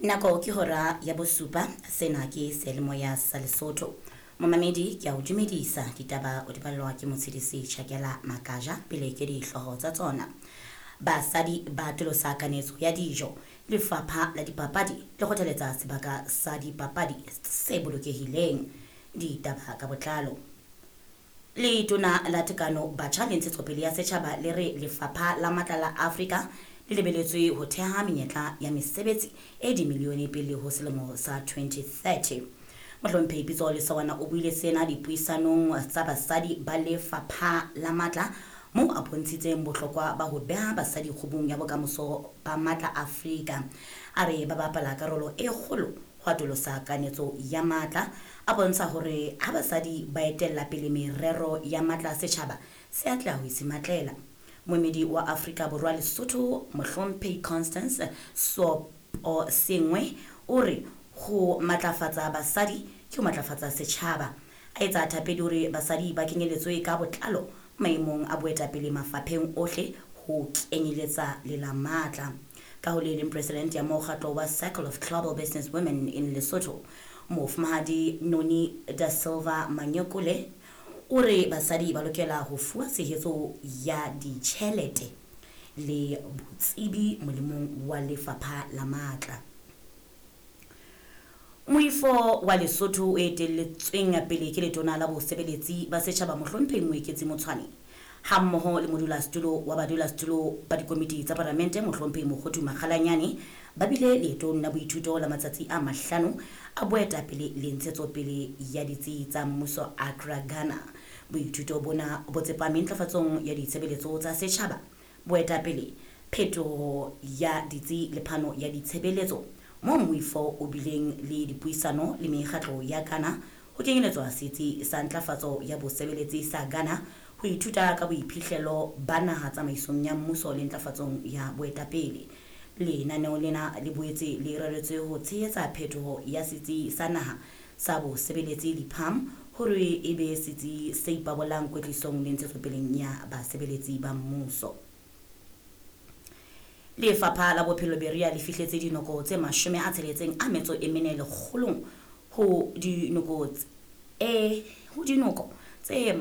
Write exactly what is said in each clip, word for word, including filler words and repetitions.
Nako ke hora ya bosupa, sena ke seyalemoya sa Lesotho. Momamedi, ke a o dumedisa. Ditaba o di ballwa ke Motshedisi Chakela Makaja. Pele ke dihlooho tsa tsona. Basadi ba atolosa kanetso ya dijo. Lefapha la dipapadi le kgothaletsa sebaka sa dipapadi se bolokehileng. Ditaba ka botlalo. Letona la Tekano, Batjha le Ntshetsopele ya Setjhaba le re Lefapha la Matla la Afrika le lebeletswe ho theha menyetla ya mesebetsi e dimilione pele ho selemo sa twenty thirty. Mohlomphehi Pitso Lesawana o buile sena dipuisanong tsa basadi ba Lefapha la Matla, moo a bontshitseng bohlokwa ba ho beha basadi kgubung ya bokamoso ba matla Afrika. A re ba bapala karolo e kgolo ho atolosa kanetso ya matla, a bontsha hore ha basadi ba etella pele merero ya matla a setjhaba, se atleha ho isimatlela. Moemedi wa Afrika Borwa Lesotho, Mohlomphehi Constance Seoposengwe, o re ho matlafatsa basadi ke ho matlafatsa setjhaba. A etsa thapedi hore basadi ba kenyeletswe ka botlalo maemong a boetapele mafapheng ohle, ho kenyeletsa le la matla. Ka ho le leng, president ya mokgatlo wa Circle of Global Business Women in Lesotho, Mofumahadi Noni da Silva Manyokole, o re basadi ba lokela ho fuwa tshehetso ya ditjhelete le botsebi molemong wa lefapha la matla. Moifo wa Lesotho o etelletsweng pele ke letona la bosebeletsi ba setjhaba Mohlomphehi Moeketsi Motshwane, hammoho le modulasetulo wa badulasetulo ba dikomiti tsa palamente Mohlomphehi Mokgothu Makgalanyane, ba bile leetong la boithuto la matsatsi a mahlano a boetapele le ntshetsopele ya ditsi tsa mmuso Accra, Ghana. Boithuto bona bo tsepame ntlafatsong ya ditshebeletso tsa setjhaba, boetapele, phetoho ya ditsi le phano ya ditshebeletso, moo moifo o bileng le dipuisano le mekgatlo ya Ghana, ho kenyeletswa setsi sa ntlafatso ya bosebeletsi sa Ghana, ho ithuta ka boiphihlelo ba naha tsamaisong ya mmuso le ntlafatsong ya boetapele. Lenaneo lena le boetse le reretswe ho tshehetsa phetoho ya setsi sa naha sa bosebeletsi LIPAM hore e be setsi se ipabolang kwetlisong le ntshetsopeleng ya basebeletsi ba mmuso. Lefapha la Bophelo Berea le fihletse dinoko tse mashome a tsheletseng a metso e mene lekgolong ho dinoko e ho dinoko tse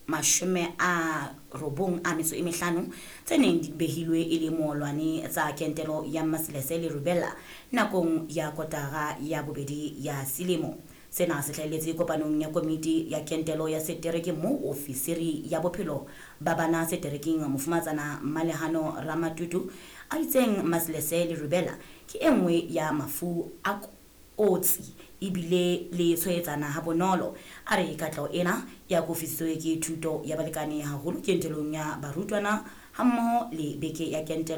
mashome a robong a metso e mehlano tse neng di behilwe e le moolwane tsa kentelo ya Masilese le Rubella nakong ya kotara ya bobedi ya selemo. Sena se hlahelletse kopanong ya komiti ya kentelo ya setereke moo ofisiri ya bophelo ba bana seterekeng Mofumatsana Malehano Ramatutu a itseng Masilese le Rubella ke e nngwe ya mafu a kotsi ebile le tshwaetsana ha bonolo. A re katleho ena ya kofisitswe ke thuto ya balekane haholo kentelong ya barutwana hammoho le beke ya kentelo.